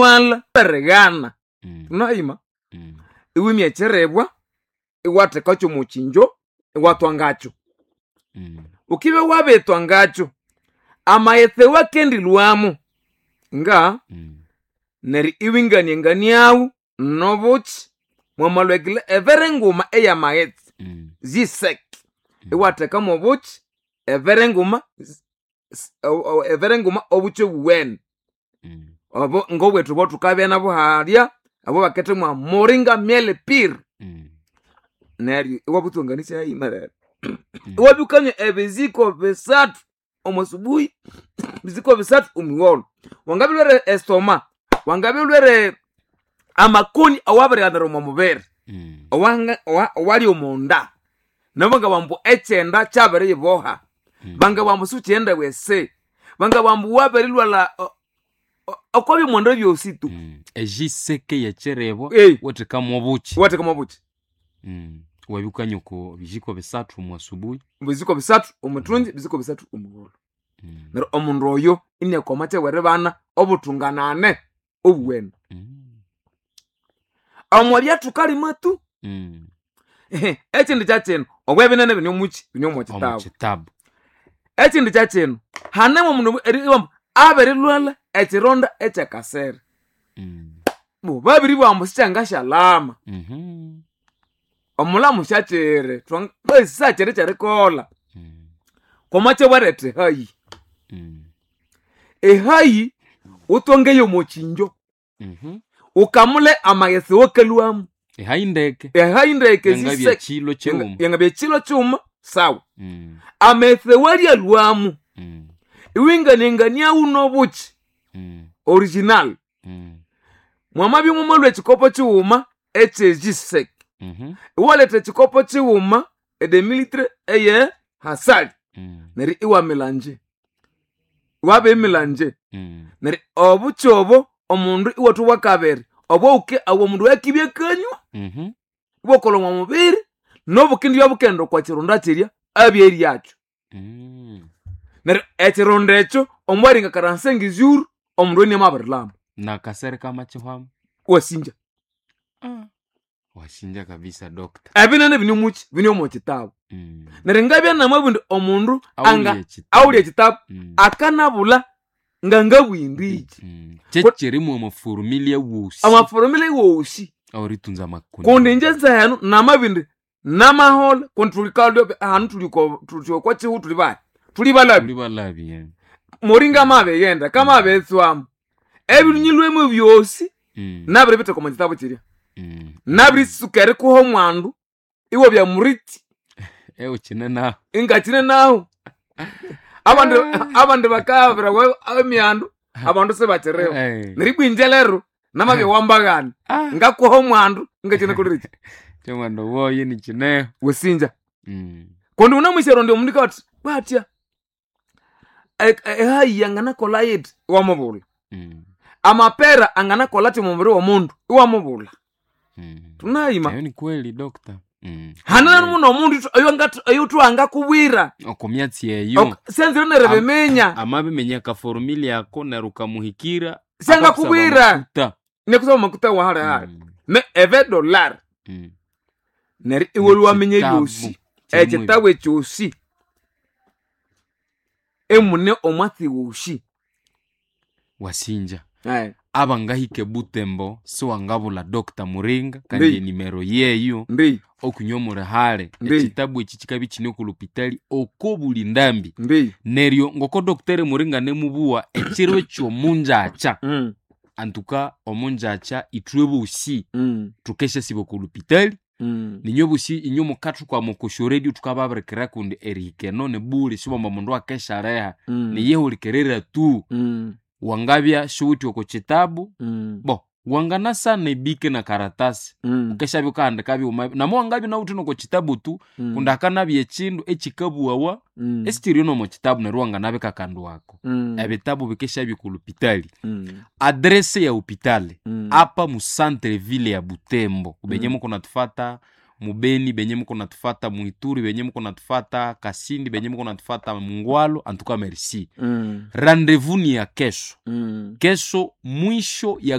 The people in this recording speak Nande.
Wamabilwala berigana tunahima iwimya ekirebwa iwathekakyo omukinjo iwathwa ngakyo. Ukibya wabithwa ngakyo, amaghetse wakendilhwamu nga neryo iwinganianganiawu nobuki, mwamalhwa evere nguma eyamaghetse ziseke, iwathekamu obuki evere nguma, evere nguma obuki obuwene, obo ngobwethu obwathukabya nabu halya, abo bakethemwa moringa miel pure. Neryo iwabutsonganisya hayimerere, iwabya wukanywa ebiziko 3 omo subuhi, ebiziko 3 omwigholho. Wangabya wulhwere estoma, wangabya wulhwere amakoni awabirighanira omo mubiri, owali omonda, nabo bangabugha ambu ekyenda kyabiriyiboha, bangabugha ambu siwukighenda ewese, bangabugha ambu wabirilhwalha okwabyomonda byosi tu. Ejiseke yekirebwa wathekamu obuki. Iwathekamu obuki. Iwabya wukanywa oko bijiko 3 omwa subuhi. Ebiziko 3 omwithungi, ebiziko 3 omwigholho. Neryo omundu oyo iniakwa kyeweribana obuthunganane obuwene. Omwabya thukalima tu, ekindi kyakyino, obwebinene bine omuki, bine omwakitabu. Omukitabu. Ekindi kyakyino, hanemu omundu eribughambu abirilhwalha ekironda ekyakasere. Bo babiribugha ambu sikyangasyalhama. Omulhamu syakyiri, basi sakyiri kyerikolha. Kwamakyabwaretha ehayi. Ehayi wuthongeyo omwakyinjo, wukamule amaghetse awakalhwamu. Ehayi ndeke. Ehayi ndeke. Yangabya ziseke. kilo kighuma. Yangabya kilo kighuma, sawa. Amaghetse awalyalhwamu, iwinganianganiawu nobuki original. Mwamabya mwamalhwa ekikopo kighuma ekyejiseke, iwaletha ekikopo kighuma edemilitre eye hasali, neryo iwamilanje, iwabimilanje. Neryo obuki obo omundu iwathwa bwakabiri, obwawuke omundu oyukibya akanywa, ibwakolha omwa mubiri, nobukindibya bukaghenda okwa kironda kirya abyeryakyo. Neryo ekironda ekyo omwaringa karansengizyuru, omundu oyo inamabirilhama. Nakasere kamakyihwamu. Iwasinja. Wasinja kabisa doctor. Ebinene bine omuki, bine omo kitabu. Neryo ngabya namabugha indi omundu anga awulye ekitabu, akanabulha ngangabugha Kyekyirimu amaforumile wosi. Amaforumile wosi. Aweritunza amakoni. Kundi inje nzehenu namabugha indi namaholha kundi thulikalya hanu thuli okwa kihugho thuli bahi? Thuli balhabi. Thuli balhabi. Moringa amabighenda kamabiritswamu, ebinyilhwemu byosi nabiribitheka omo kitabu kirya. Nabiritsuka erikuha omwandu iwabya murithi. Ewukyine nahu. Ingakyine nahu. Abandi abandi bakabirawa emyandu, abandu sibakyiriho. Neryo ibwa inje lero namabya wambaghana, ngakuha omwandu ingakyine kolireki. Kyomwandu woyo nikyineho. Wasinja. Kundi wunamwisa erondi omundu ikawathi batya, ehayi yanganakolha yithi, iwamubulha. Amapera anganakolha athi omumubiri womundu, iwamubulha. Thunayima. Eyo ni kweli doctor. Hane nomundu oyuthuwangakubwira. Oko myatsi eyo. Syanzire neribiminya. Amabiminya akaforumile ako neryo ukamuhikira. Syangakubwira. Nekusaba makuta wa hali hali. Me eve dollar. Neryo iwe lwaminya ebyosi. Ekitabu ekyosi. Emune omwatsi wosi. Wasinja. Abangahika ebutembo siwangabulha Dr. Muringa kandi enimero yeyo Ndi. okunywa omuli hale. Ndi. Ekitabu eki kikabya ikine oku lupitali oko buli ndambi. Ndi. Neryo ngoko Dr. Muringa nemubuwa ekiro ekyomunjakya, antuka omunjakya ithwe bosi thukesyasiba oku lupitali. Ninywe bosi inywe mukathukwama oko syoredio thukababirikira kundi erihika eno nibuli sibwamba omundu akesyaleha, niyihulikirira tu. Wangabya siwuthi oko kitabu, bo wanganasana ebike na karatasi, wukesyabya wukahandika byuma, namu wangabya inawithe noko kitabu tu, kundi hakanabya ekindu ekikabuwawa esikyiri nomo kitabu neryo wanganabika akandu ako. Ebitabu bikesyabya oko lupitali. Adresse ya hopitali apa mu centre ville ya Butembo, benye mukunathufata mubeni, benye mukunathufata mwituri, benye mukunathufata Kasindi, benye mukunathufata Mungwalo, antuka merci. Rendez-vous ni ya kesho. Kesho mwisho ya